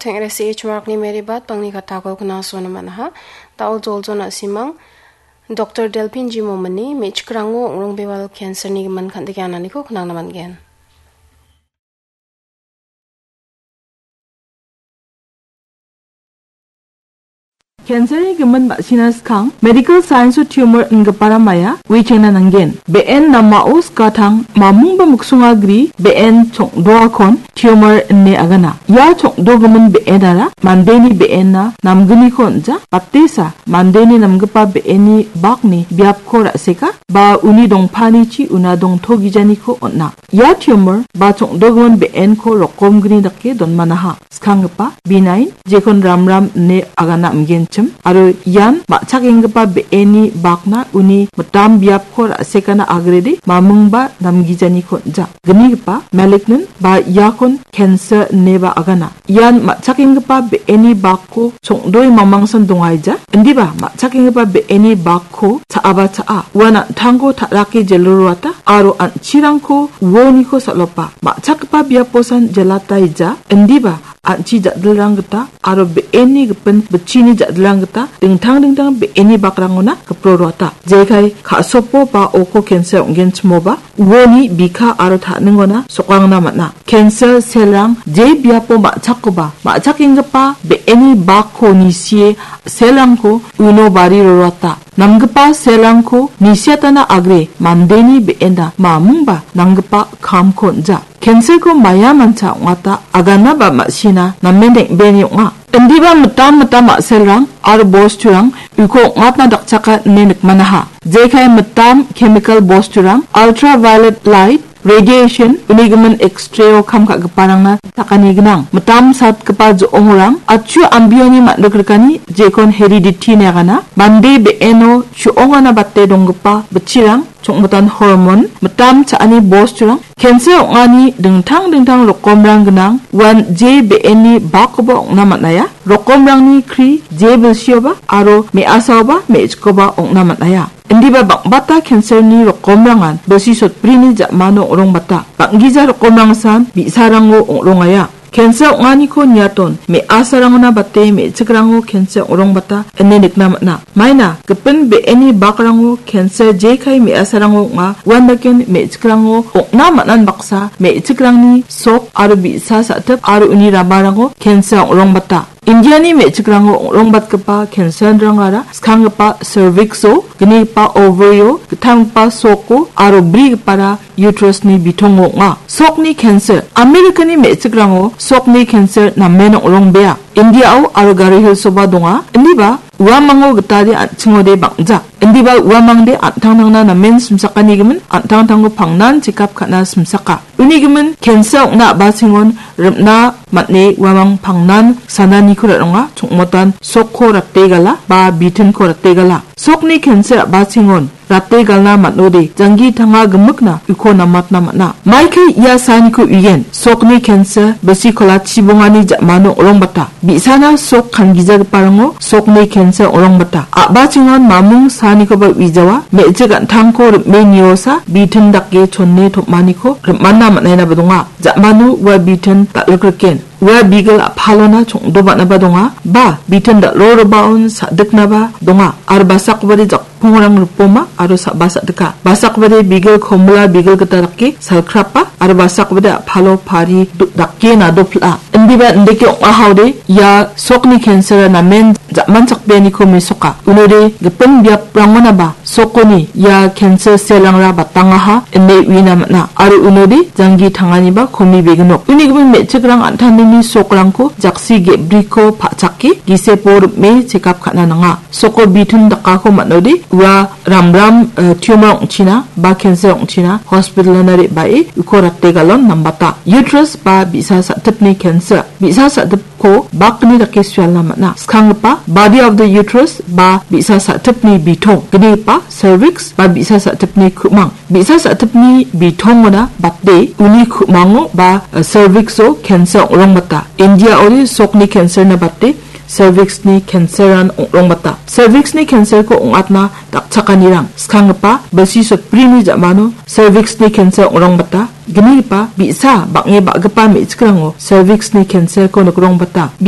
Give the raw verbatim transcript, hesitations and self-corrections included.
Teng·resi H Markni Mary Bat bangni katako knasona man·aha. Da·o joljona simang Doktor Delphin Jimomini me·chikrango ong·rongbewal cancer-ni gimin kan·tikenganiko knangna man·gen. Cancer-ni gimin ma·sina skang medical science-o tumor ingipara maia uichengna nanggen. Be·en namao skatang mamung ba miksonga gri be·en chong·doakon tumor ine agana. Ia chong·dogimin be·enara mandeni be·enna namgniko on·ja, batesa mandeni namgipa be·enni bakni biapko ra·seka ba uni dongpanichi una dongtogijaniko on·a. Ia tumor ba chong·dogimin be·enko rokomgni dake donmanaha. Skanggipa, benign, jekon ramram ine agana amgenchim, aro ian ma·chakenggipa be·eni bakna uni mitam biapko ra·sekana agrede mamingba namgijaniko on·ja. Gnigipa, malignant, ba iakon cancer ineba agana. Ian ma·chakenggipa be·eni bakko chong·doe mamangsan dongaija. Indiba ma·chakenggipa be·eni bakko cha·aba cha·a. Uan an·tangko ta·rake jelroata aro an·chirangko uoniko sal·opa. Ma·chakgipa biaposan jelataija. Indiba an·chi ja·dilrang gita aro be·eni gipin bitchini ja·dilrang gita dingtang dingtang be·eni bakrangona gipro roata. Jekai ka·sopo ba oko cancer ong·genchimoba uoni bika aro ta·ningona sokangna man·a. Cancer cell-rang je biapo ma·chakkoba, ma·chakenggipa be·eni bakko nisie cell-rangko uno bari roroata. Namgipa cell-rangko nisiatana agre mandeni be·ena mamingba nanggipa kamko on·ja. Cancer-ko maia mancha ong·ata agana ba ma·sina namen deng·beni ong·a. Indiba mitam mitam ma·selrang aro bosturang uko ong·atna dakchaka ine nikmanaha. Jekai mitam chemical bosturang, ultraviolet light, radiation, unigimin X-ray-o kam ka·giparangna sakani gnang. Mitam satgipa jo·ongrang, achu ambioni man·rikrikani jekon heredity ine agana. Mande be·eno chu·ongana bate donggipa bitchirang, chongmitan hormon, mitam cha·ani bosturang, cancer ong·ani dingtang dingtang rokomrang gnang, uan je be·eni bakkoba ong·na man·aia. Rokomrangni kri je bilsioba aro me·asaoba me·chikoba ong·na man·aia. Indiba bang·bata cancer-ni rokomrangan bilsi sotbrini ja·mano ong·rongbata. Bang·gija rokomrangsan bi·sarango ong·rongaia. Cancer ong·aniko niaton me·asarangona bate me·chikrango cancer ong·rongbata ine nikna man·a. Maina gipin be·eni bakrango cancer jekai me·asarango ong·a, uandaken me·chikrango ong·na man·an baksa me·chikrangni sok aro bi·sa sa·tip aro uni ramarango cancer ong·rongbata. Indiani me·chikrango ong·rongbatgipa cancer-rangara skanggipa cervix-o, gnigipa ovary-o, gittamgipa soko aro brigipara uterus-ni bitongo ong·a. Sokni cancer. Amerikani me·chikrango sokni cancer namen ong·rongbea. India-o aro Garo Hills-oba donga. Indiba uamango gitade an·chingode bang·ja. Indiba uamangde an·tangtangna namen simsakanigimin an·tangtangko pangnan chekap ka·na simsaka. Unigimin cancer ong·na a·bachengon rim·na man·e uamang pangnan sananiko ra·ronga, chongmotan sokko rate gala ba bitinko rate gala. Sokni cancer a·bachengon rate galna man·ode, janggi tanga gimikna uko namatna man·a. Maikai ia saaniko uien, sokni cancer, bisi kola chibongani ja·mano ong·rongbata. Bi·sana sok kangijagiparango sokni cancer ong·rongbata. A·bachengon mamung saanikoba uijawa, me·chik an·tangko rim·e niosa, bitin dake chone tom·aniko rim·ana man·ainaba donga. Ja·mano ua bitin dal·rikriken. Ua bigil a·palona chong·doba·naba donga, ba bitin dal·rorobaon sa·diknaba donga, aro basakobade jak-, pongrang ripoma aro sa-, ba sa·dika. Basakbade bigil komila bigil gita dake salkrapa aro basakbade a·palo pari do-, dake nadopil·a. Indiba indake ong·ahaode ia sokni cancer-a namen ja·manchakbeaniko mesoka. Unode gipin biaprangonaba sokoni ia cancer cell-rangra batangaha ine uina man·a. Aro unode janggi tanganiba komi beginok. Uni gimin me·chikrang an·tangtangni sokrangko jaksi ge·briko pa·chake gisepo rim·e chekap ka·na nanga. Soko bitin dakako man·ode ua ramram, eh, tumor ong·china ba cancer ong·china hospital-ona re·bae uko rate galon nambata. Uterus ba bi·sa sa·tipni cancer. Bi·sa sa·tipko bakni dake sualna man·a. Skanggipa body of the uterus ba bi·sa sa·tipni bitong. Gnigipa cervix ba bi·sa sa·tipni ku·mang. Bi·sa sa·tipni bitongona bate uni ku·mango ba, eh, cervix-o cancer ong·rongbata. India-ode sokni cancer-na bate cervix-ni cancer-an ong·rongbata. Cervix-ni cancer-ko ong·atna dakchakanirang skanggipa bilsi sotbrini ja·mano cervix-ni cancer ong·rongbata. Gnigipa bi·sa bang·e ba·gipa me·chikrango cervix-ni cancer-ko nikrongbata.